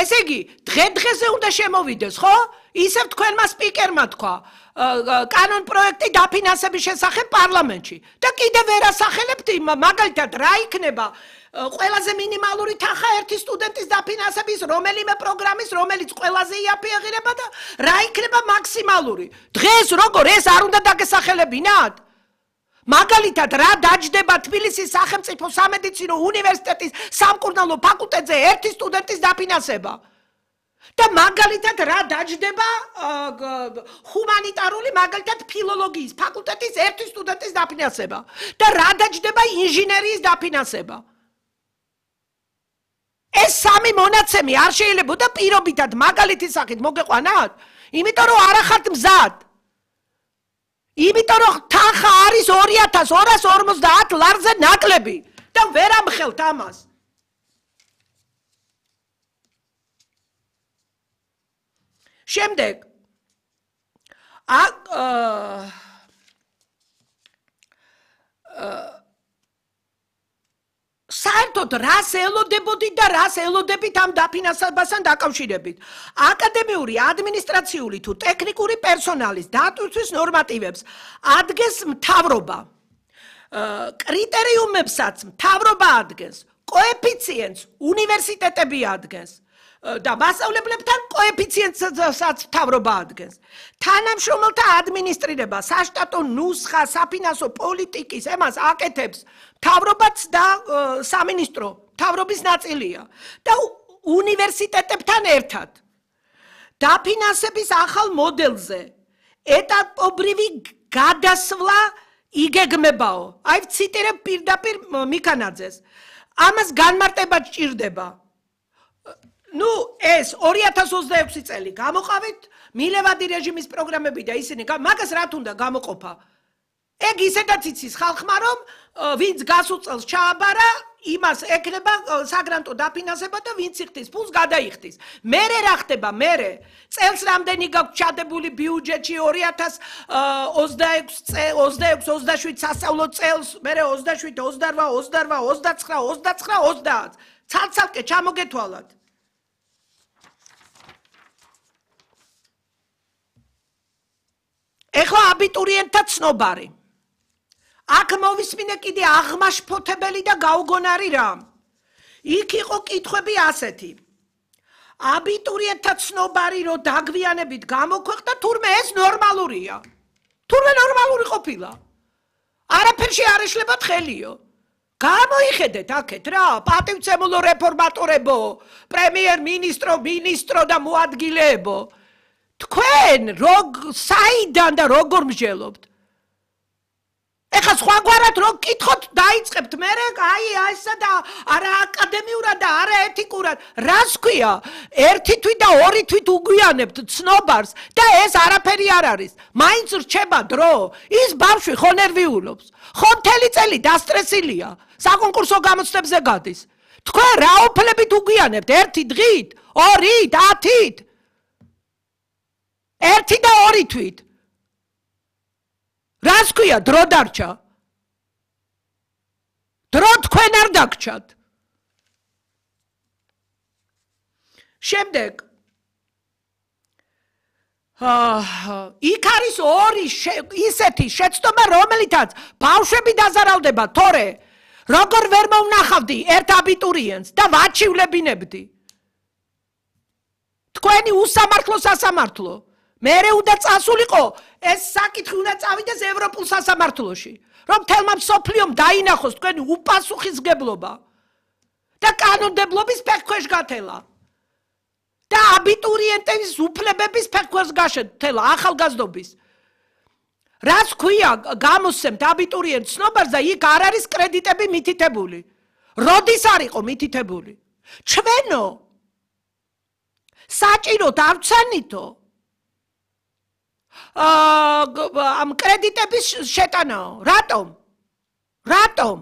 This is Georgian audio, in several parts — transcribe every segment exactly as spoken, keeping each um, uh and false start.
ესე იგი, დღე-დღეზე უნდა შემოვიდეს, ხო? ისევ თქვენმა სპიკერმა თქვა, კანონ პროექტი დაფინანსების შესახებ პარლამენტში. და კიდევ ვერ ასახელებთ, მაგალითად, რა იქნება ყველაზე მინიმალური თანხა ერთი სტუდენტის დაფინანსების რომელიმე პროგრამის, რომელიც ყველაზე იაფიაღირება და რა იქნება მაქსიმალური. დღეს როგორ ეს არ უნდა დაგესახელებინათ? მაგალითად, რა დაჯდება თბილისის სახელმწიფო სამედიცინო უნივერსიტეტის სამკურნალო ფაკულტეტზე ერთი სტუდენტის დაფინანსება. და მაგალითად რა დაჯდება ჰუმანიტარული, მაგალითად ფილოლოგიის ფაკულტეტის ერთი სტუდენტის დაფინანსება. და რა დაჯდება ინჟინერიის დაფინანსება. ეს სამი მონაცემი არ შეიძლება და პირობითად მაგალითის სახით მოგეყვანათ? იმიტომ რომ არ ახართ მზად. იმიტომ რომ თანხა არის ორი ათას ორას ორმოცდაათ ლარზე ნაკლები და ვერ ამხელთ ამას. შემდეგ საერთოდ რას ელოდებოდით და რას ელოდებით ამ დაფინანსებასთან დაკავშირებით. აკადემიური, ადმინისტრაციული თუ ტექნიკური პერსონალის დატვირთვის ნორმატივებს ადგენს მთავრობა. კრიტერიუმებსაც მთავრობა ადგენს, კოეფიციენტს უნივერსიტეტები ადგენს. და მასწავლებლებთან კოეფიციენტსაც მთავრობა ადგენს. თანამშრომელთა ადმინისტრირება, საშტატო ნუსხა, საფინანსო პოლიტიკის ემას აკეთებს მთავრობაც და სამინისტრო, მთავრობის ნაწილია და უნივერსიტეტებთან ერთად. დაფინანსების ახალ მოდელზე ეტაპობრივი გადასვლა იგეგმებაო. აი ვციტირებ პირდაპირ მიქანაძეს. ამას განმარტება ჭირდება. ნუ ეს ორი ათას ოცდაექვსი წელი გამოყავით, მილევადი რეჟიმის პროგრამები და ისინი, მაგას რა თუნდა გამოყოფა? ეგ ისედაც იცის ხალხმა, რომ ვინც გასულ ჩააბარა, იმას ეკნება საგრანტო დაფინანსება და ვინც იხდის ფულს გადაიხდის. მერე რა ხდება? მერე წელს რამდენი გაქვს ჩადებული ბიუჯეტში ორი ათას ოცდაექვსი ოცდაშვიდ სასწავლო წელს, მერე ოცდაშვიდ ოცდაოთხ ოცდაოთხ ოცდაცხრა ოცდაცხრა ოცდაათ. ცალ-ცალკე ჩამოგეთვალათ. ეხლა აბიტურიენტთა ცნობარი. აქ მოვისმინე კიდე აღმაშფოთებელი და გაუგონარი რამ. იქ იყო კითხვები ასეთი. აბიტურიენტთა ცნობარი რო დაგვიანებით გამოქვეყნდა, თურმე ეს ნორმალურია. თურმე ნორმალური ყოფილა. არაფერში არ ეშლებათ ხელიო. გამოიხედეთ აქეთ რა, პატივცემულო რეფორმატორებო, პრემიერ-მინისტრო, მინისტრო და მოადგილეებო. თქვენ როგ საიდან და როგორ მსჯელობთ? ეხლა სხვაგვარად რო გკითხოთ, დაიწყებთ მერე, აი ესა და არა აკადემიურად და არა ეთიკურად. რას ქვია? ერთი თვით და ორი თვით უგვიანებთ ცნობარს და ეს არაფერი არ არის. მაინც რჩება დრო, ის ბავშვი ხო ნერვიულობს. ხო მთელი წელი დასტრესილია, საკონკურსო გამოცდებზე გადის. თქვენ რა უფლებით უგვიანებთ? ერთი დღით, ორით, ათით? ერთი და ორი თვით. რას ქვია დრო დარჩა? დრო თქვენ არ დაგჩათ. შემდეგ იქ არის ორი ისეთი შეცდომა, რომელიცაც ბავშვები დაზარავდება, თორე როგორ ვერ მოვნახავდი ერთ აბიტურიენტს და ვაჩივლებინებდი. თქვენი უსამართლო სასამართლო. მერე უნდა წასულიყო, ეს საკითხი უნდა წავიდეს ევროპულ სასამართლოში, რომ მთელმა მსოფლიომ დაინახოს თქვენი უპასუხისმგებლობა და კანონმდებლობის ფეხქვეშ გათელა და აბიტურიენტების უფლებების ფეხქვეშ გათელა ახალგაზრდობის. რას ქვია გამოსცემთ აბიტურიენტ ცნობარს და იქ არ არის კრედიტები მითითებული. როდის არ იყო მითითებული? ჩვენო საჭიროდ არ ვცანითო ამ კრედიტების შეტანაო. რატომ? რატომ?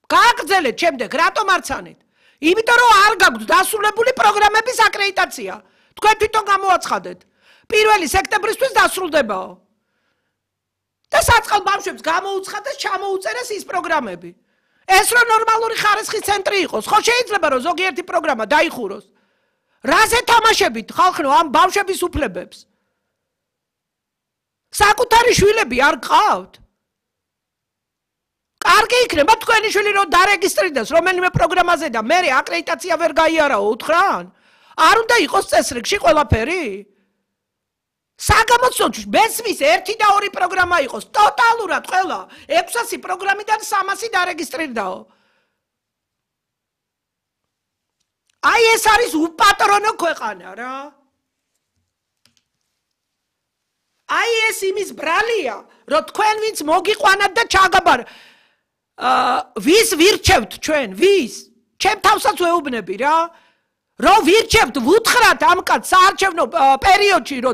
გააგრძელეთ შემდეგ, რატომ არ ცანით? იმიტომ რომ არ გაგვთ დასრულებული პროგრამების აკრედიტაცია. თქვენ თვითონ გამოაცხადეთ. პირველი სექტემბრისთვის დასრულდებაო. და საწყალ ბავშვებს გამოუცხადეს, ჩამოუწერეს ის პროგრამები. ეს რო ნორმალური ხარისხის ცენტრი იყოს, ხო შეიძლება რომ ზოგიერთი პროგრამა დაიხუროს. რაზე თამაშებით ხალხნო ამ ბავშვების უფლებებს? საკუთარი შვილები არ გყავთ? კარგი იქნება თქვენი შვილი რომ დარეგისტრირდეს რომელიმე პროგრამაზე და მე აკრედიტაცია ვერ გაიარაო უთხრან? არ უნდა იყოს წესრიგში ყველაფერი? საგამოცდოში მესმის ერთი და ორი პროგრამა იყოს, ტოტალურად ყველა ექვსასი პროგრამიდან სამასი დარეგისტრირდაო. აი ეს არის უპატრონო ქვეყანა რა. აი ეს იმის ბრალია, რომ თქვენ ვინც მოგიყვანათ და ჩაგაბარ ვის ვირჩევთ ჩვენ, ვის? ჩემ თავსაც ვეუბნები რა. რომ ვირჩევთ, ვუთხრათ ამ კაც საარჩევნო პერიოდში, რომ